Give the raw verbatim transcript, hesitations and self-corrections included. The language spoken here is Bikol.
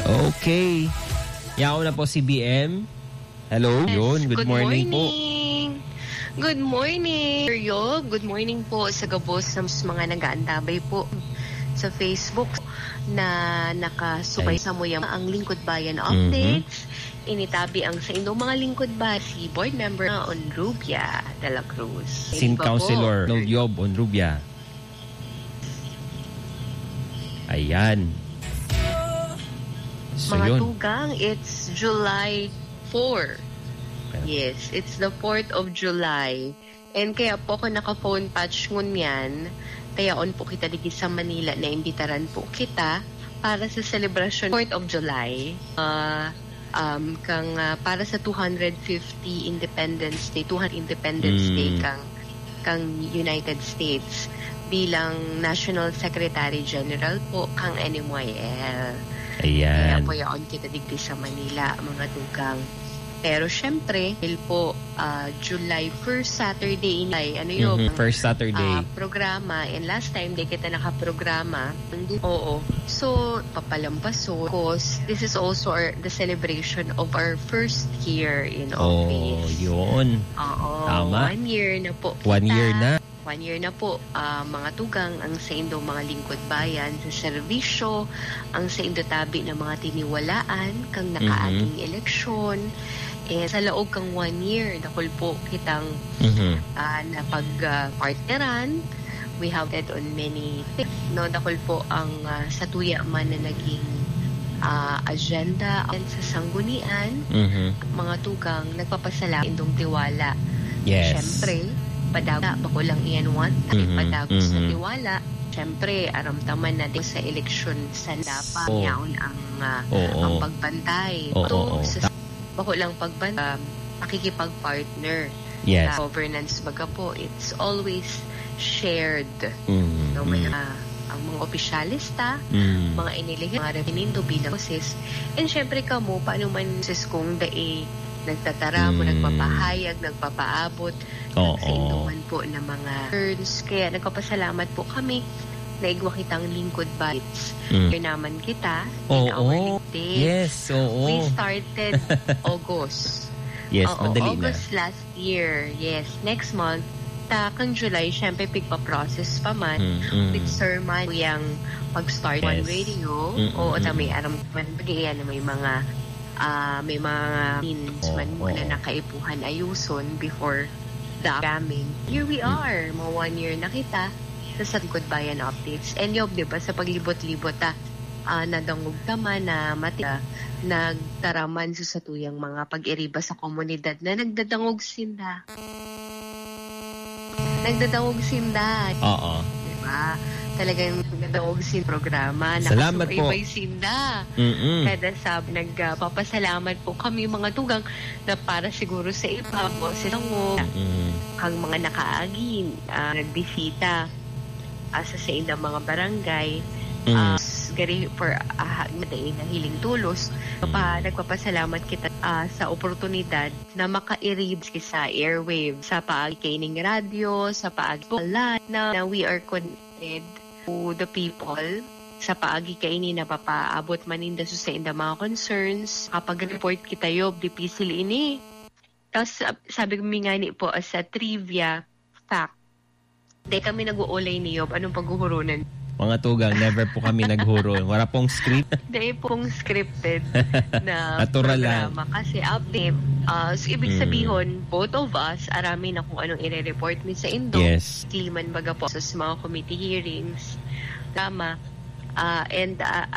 Okay. Yaon na po si B M. Hello. Yes, Yun, good good morning po. morning. Good morning, Sir Yob. Good morning po sa gabos sa mga nag-aantabay po sa Facebook na nakasubay Ay. sa muyang ang Lingkod Bayan Mhm. updates. Initabi ang sa inyong mga Lingkod Bayan, si Board Member Onrubia de la Cruz. Sin Iba po. Councilor Noel Yob Onrubia. Ayan. So, Mga yun. tugang, it's July four. Ayan. Yes, it's the fourth of July. And kaya po ako naka-phone patch ngunyan, kaya on po kita digi sa Manila, naimbitaran po kita para sa selebrasyon fourth of July. Ah, um, kang, ah, para sa two hundred fifty Independence Day, two hundred Independence Day Mm. kang, kang United States bilang National Secretary General po kang N M Y L. Ayan. Kaya po yaon kita digdi sa Manila, mga tugang. Pero syempre, dahil po, ah, July first Saturday ini ay, ano yun, Mhm, first Saturday. ah, programa. And last time, di kita nakaprograma. Hindi, oo. So, papalampaso. Because this is also our, the celebration of our first year in Oh, office. yun. Oo, Tama. one year na po One kita. year na. One year na po, ah, mga tugang, ang saindo mga lingkod bayan sa serbisyo, ang saindo tabi na mga tiniwalaan kang Mhm. nakaaging eleksyon. Eh, sa laog kang one year, dakul po kitang, Mhm. ah, napag, ah, partneran. We have it on many things, no? Dakul po ang, ah, satuya man na naging, ah, agenda sa sanggunian. Mhm. Mga tugang, nagpapasalamat indong tiwala. Yes. Siyempre, padago, bako lang iyan one time, Mhm, padagos na mhm. tiwala. Siyempre, aram ta man na di sa eleksyon sanda pa, Oh. yaon ang, ah, Oo. ang pagbantay. Oo, Ito, oo. sa, Ta- bako lang pagban-, um, pakikipag-partner. Yes. Sa governance, baga po, it's always shared. Mm, No, may, mm. ah, ang mga opisyalista, Mm. mga inilihin, mga referendo bilang boses. And syempre kamo, paano man sis kung dai nagtataram o Mm. nagpapahayag, nagpapaabot Oo. sa indo man po na mga turns. Kaya nagpapasalamat po kami na igwa kitang lingkod bites. Mm. Kaya naman kita, in Oo. our lingkod. Yes, oo. We started August. Yes, Oo, madali na. August last year. Yes, next month. Ta, kang July, syempre, pigpa-process pa man. Mm, mm. With sermon, yung pag-start One Yes. Radio. Mm, Oo, mm, ta, may mm. aram man, pag-iyan na may mga, ah, may mga means Oo, man muna oo. na kaipuhan ayuson before the upcoming. Here we Mm. are, mga one year na kita sa Lingkod Bayan Updates. And Yob, di ba, sa paglibot-libot, ah, ah, nadangog ta man na mati-, ah, nagtaraman sa satuyang mga pag-iriba sa komunidad na nagdadangog sinda. Nagdadangog sinda. Oo. Di ba? Talagang nagdadangog sin programa. Salamat po. Nakasubaybay sinda. Mm-mm. Kada sab-, nag, ah, papasalamat po kami, mga tugang, na para siguro sa iba, boses lang mo, Mm-mm. ang mga nakaagi, ah, nagbisita, ah, sa saindang mga barangay, Mm. ah, s-, gari for, ah, ha-, dai nahiling tolos. Pa-, Mm. nagpapasalamat kita, ah, sa oportunidad na makairib sa airwave, sa paagi kaining radyo, sa paagi po live na, na we are connected to the people. Sa paagi kaini napapaabot man ninda sa saindang mga concerns. Kapag report kita, Yob, dipisil ini. Tas, sab-, sabi ko, mi ngani po, ah, sa trivia, fact. Dai kami nag-uulay ni Yob. Anong paghuhuronan? Mga tugang, never po kami naghuron. Wala pong script. Dai pong scripted na Natural lang. programa. Kasi update, ah, so, ibig Mm. sabihin, both of us, arami na kung anong ire-report mi sa indo. Yes. Kliman baga po sa mga committee hearings. Tama. Ah, and, ah,